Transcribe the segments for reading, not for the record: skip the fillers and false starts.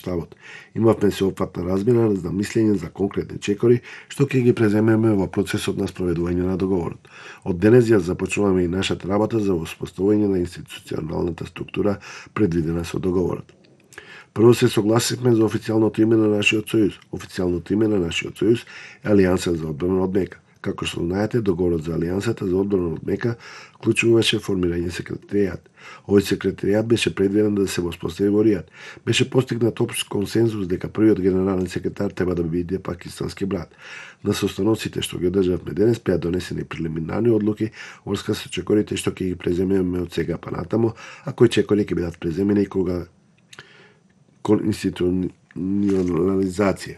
штабот. Имавме сеопфатна размена за мислење за конкретни чекори, што ќе ги преземеме во процесот на спроведување на договорот. Од денес ја започнуваме и нашата работа за воспоставување на институционалната структура предвидена со договорот. Прво се согласивме за официјалното име на нашиот сојуз. Официјалното име на нашиот сојуз е Алијанса за одбрана од мека. Како што знаете, договорот за Алијансата за одбрана од мека вклучуваше формирање секретаријат. Овој секретаријат беше предвиден да се воспостави во Ријад. Беше постигнат општ консензус дека првиот генерален секретар треба да биде пакистански брат. На состаноците што ги одржавме денес беа донесени прелиминарни одлуки врска со чекорите што ќе ги преземеме од сега па натаму, а кои чекори ќе бидат преземени кога кон институционализација.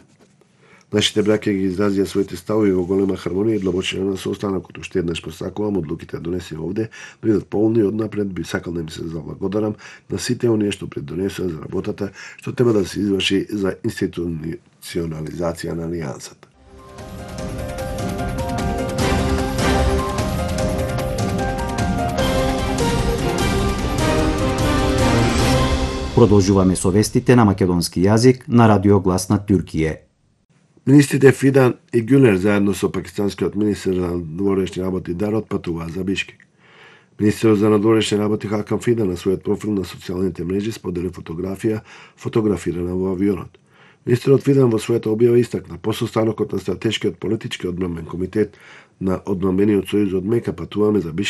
Нашите браќа ги изразија своите ставови во голема хармонија и длабочина на состанокот. Уште еднаш посакувам одлуките донесени овде да бидат полни и однапред би сакал да им се заблагодарам на сите оние што придонесоа за работата што треба да се изврши за институционализација на Алијансата. Продолжуваме со вестите на македонски јазик на Радио Глас на Туркија. Министрите Фидан и Гюлер заедно со пакистанскиот министер за надворешни работи Дарот патуваа за Бишкек. Министерот за надворешни работи Хакан Фидан на својот профил на социјалните мрежи сподели фотографија фотографирана во авионот. Министерот Фидан во својата објава истакна по состанокот на стратешкиот политички одбранбен комитет на одбранбениот сојуз од Мека патуваме за Бишкек